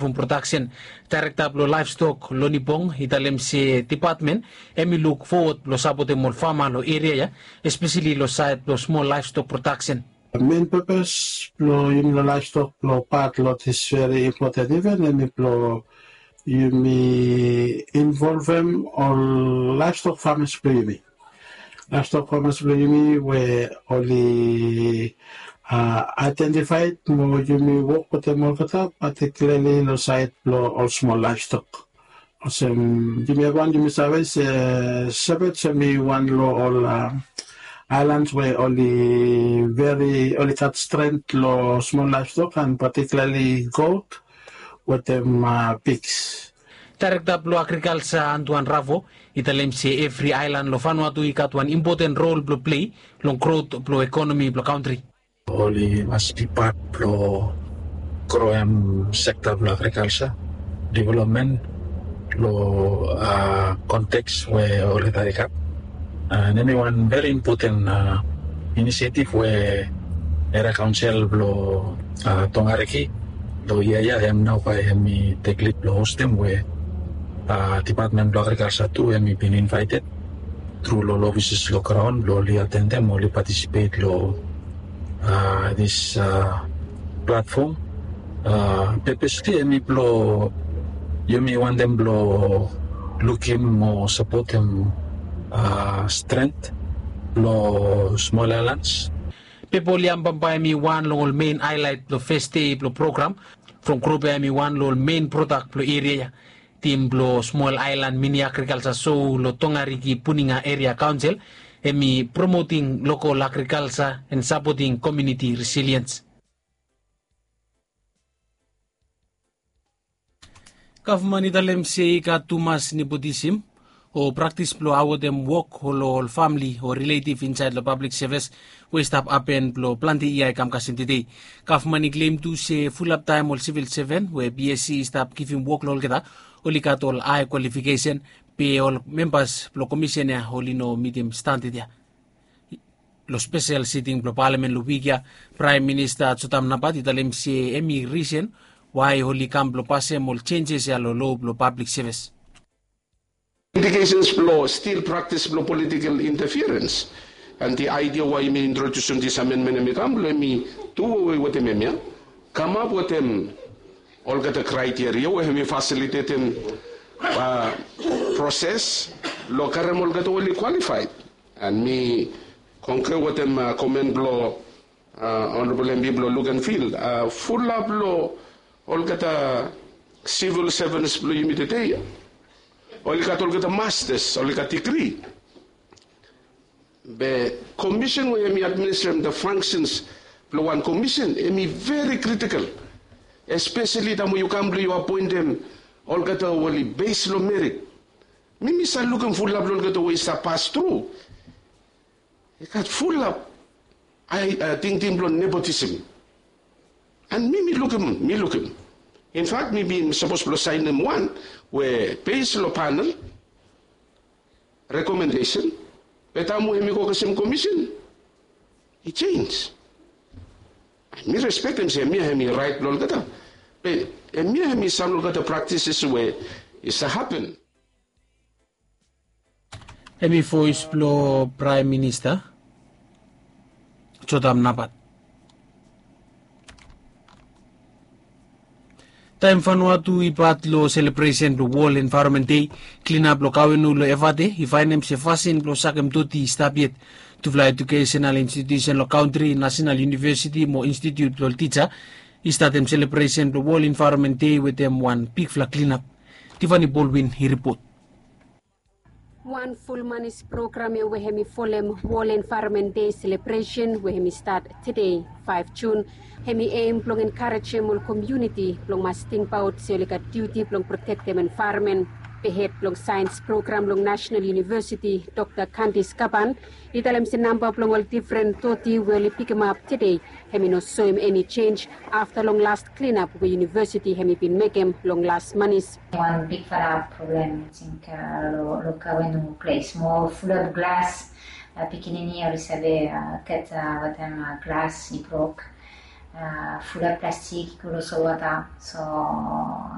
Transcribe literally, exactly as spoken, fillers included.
From prodaksen, daerekta blong laevstok Lonnie Bong i talem se depatmen hemi luk fowod blong sapotem ol fama long eria ya, espeseli long saed blong smol laevstok prodaksen. Men pepes blong yumi long laevstok blong pat long dis veri impoten iven hemi blong yumi involvem ol laevstok famas blong yumi. Laevstok famas blong yumi we oli aedentifaed mo yumi wok wetem olgeta, patikilarli long saed blong ol smol laevstok. Olsem yumi evriwan yumi save se Shepherd hemi wan long ol aelan we oli veri oli gat stren long smol laevstok and patikilarli got wetem piks. Daerekta blong agrikalsa Antoine Ravo i talem se evri aelan long Vanuatu i gat wan impoten rol blong plei long grot blong ekonomi blong kantri. Oli mas bi pat blong groem sekta blong agrikalsa developmen long konteks we olgeta i gat. And hemi wan veri impoten inisiatif we eria kaonsel blong Tongariki long yia ya hem nao bae hemi tek lid blong hostem we depatmen blong agrikalsa tu hemi bin invaeted tru long ol ofises long graon blong oli atendem, oli patisipet long dis platfom. Pepesli hemi blong yumi wantem blong lukim mo sapotem stren blong smol aelans. Pepa oli ambam bae hemi wan long ol men aelaet blong fes dei blong program from grup ya hemi wan long ol men prodak blong eria ya. Tim blong smol aelan mini agrikalsa sou long Tongariki Puninga Eria Kaonsel hemi promoting lokol agrikalsa and sapoting komuniti resiliens. Gavman i talem se i gat tumas nepotism o praktis blong awotem wok long ol famili o riletiv insaed long pablik sevis we i stap hapen blong plante yia i kam kasem tede. Gavman i klem tu se fulap taem ol sivil seven we BSc i stap givim wok long olgeta oli gat ol hae kwalifikesen be ol membas blong komisen ya oli no mitim standad ya. Long spesel siting blong palamen long wik ya, Praem Minista Jotam Napat i talem se hemi risen wae oli kam blong pasem ol jenjes ya long lo blong pablik sevis. Indikesens blong stil praktis blong politikel intafirens. And the idea why mi introdusim dis amendmen hemi kam blong hemi duwe wetem hemia, kamap wetem olgeta kraiteria we hemi fasilitetem proses long karem olgeta we oli kwalifaed. And mi kongre wetem komen blong Honorable MP blong Luganville, fulap long olgeta sivil sevens blong yumi tede oli gat olgeta mastas, oli gat digri. Be komisen we hemi administrem the functions blong wan komisen hemi veri kritikel, espeseli taem we yu kam blong yu apoentem olgeta we oli bes long merit. Mi mi save lukim fulap long olgeta we i stap pas tru. I gat fulap tingting blong nepotism. And mi mi lukim, mi lukim. Infak mi bin sapos blong saenem wan we bes long panel rekomendesen, be taem we hemi go kasem komisen i jenis. Mi respektem se hemia hemi raet blong olgeta, be hemia hemi sam long olgeta praktises we i save hapen. Hemi voes blong Praem Minista Jotam Napat. Taem Vanuatu i pat long selebresen blong Wol Envaeronmen Dei, klinap long Kawenu long Evate i faenem se fasin blong sakem doti i stap yet. Tufala ejukesenal institiusen long kantri, Nasenal Univesiti mo Institiut blong Tija i statem selebresen blong Wol Envaeronmen Dei wetem wan bigfala klinap. Tivani Bolwin i ripot. Wan ful manis program ya we hemi folem Wol Envaeronmen Dei selebresen we hemi stat tede, faef Jun, hemi em blong enkarejem ol komuniti blong mas tingbaot se oli gat diuti blong protektem envaeronmen. Be hed blong saens program long Nasenal Univesiti, Dokta Candice Kapan, i talem se namba blong ol difren doti we oli pikimap tede hemi no soem eni jenis afta long las klinap we univesiti hemi bin mekem long las manis. Wan bigfala problem, ating, long Kawenu ples moa fulap glas. Pikinini oli save gat wetem glas i brok. Fula plastik i go long solwata, so